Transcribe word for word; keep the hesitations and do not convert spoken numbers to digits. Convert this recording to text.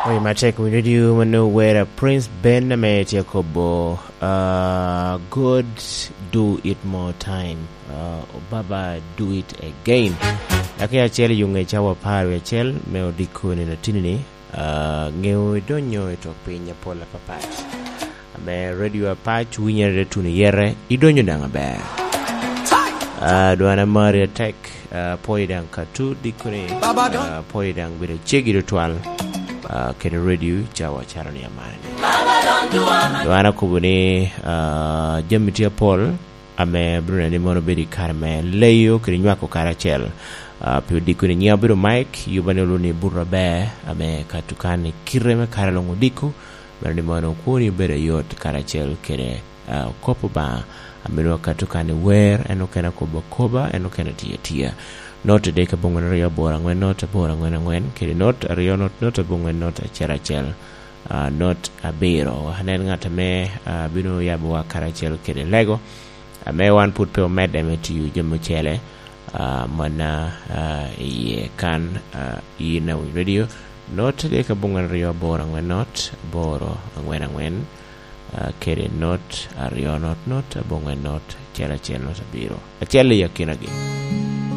Oye matek winyo diu mano wera Prince Ben ame tye kobo, uh, God, do it more time. Uh, Baba, do it again. Daki acel yung e cawa par wi acel me odiko ni latini ni, uh, ngeo idonyo i tok piny apol apapat. Ame radio apac winyere tuno yere, idonyo daŋ aber. Ah, dwana mari atek, ah, pwoyo daŋ katu dikoni, ah, pwoyo daŋ bedo cegi tutwal, ah, kede radio cawa caro ni amane. Dwana kobo ni, ah, jami tye apol, ame bino neno ni mono bedo i kare me leyo kede nywako karacel. Ah, pi odiko ni nyiŋ obedo Mike, yuba ni olu ni buto aber, ame katu kan i kite me kare luŋ odiko, meno ni mono kwoni obedo ayot karacel kede, ah, kop Obaŋa, ame nwoŋo katu kan i wer, en okene akobo akoba, en okene tiyo atiya. Not adek aboŋwen aryo aboro aŋwen not aboro aŋwen aŋwen, kede not aryo not not aboŋwen not acel acel, ah, not abiro. Anen ŋat ame, ah, bino yabowa karacel kede lego, ame wan pud pe omedde me tiyo jami ocele, ah, manna, ah, iye kan, ah, i Nawi Radio, not adek aboŋwen aryo aboro aŋwen not aboro aŋwen aŋwen, ah, kede not aryo not not aboŋwen not acel acel not abiro. Acel i akinagi.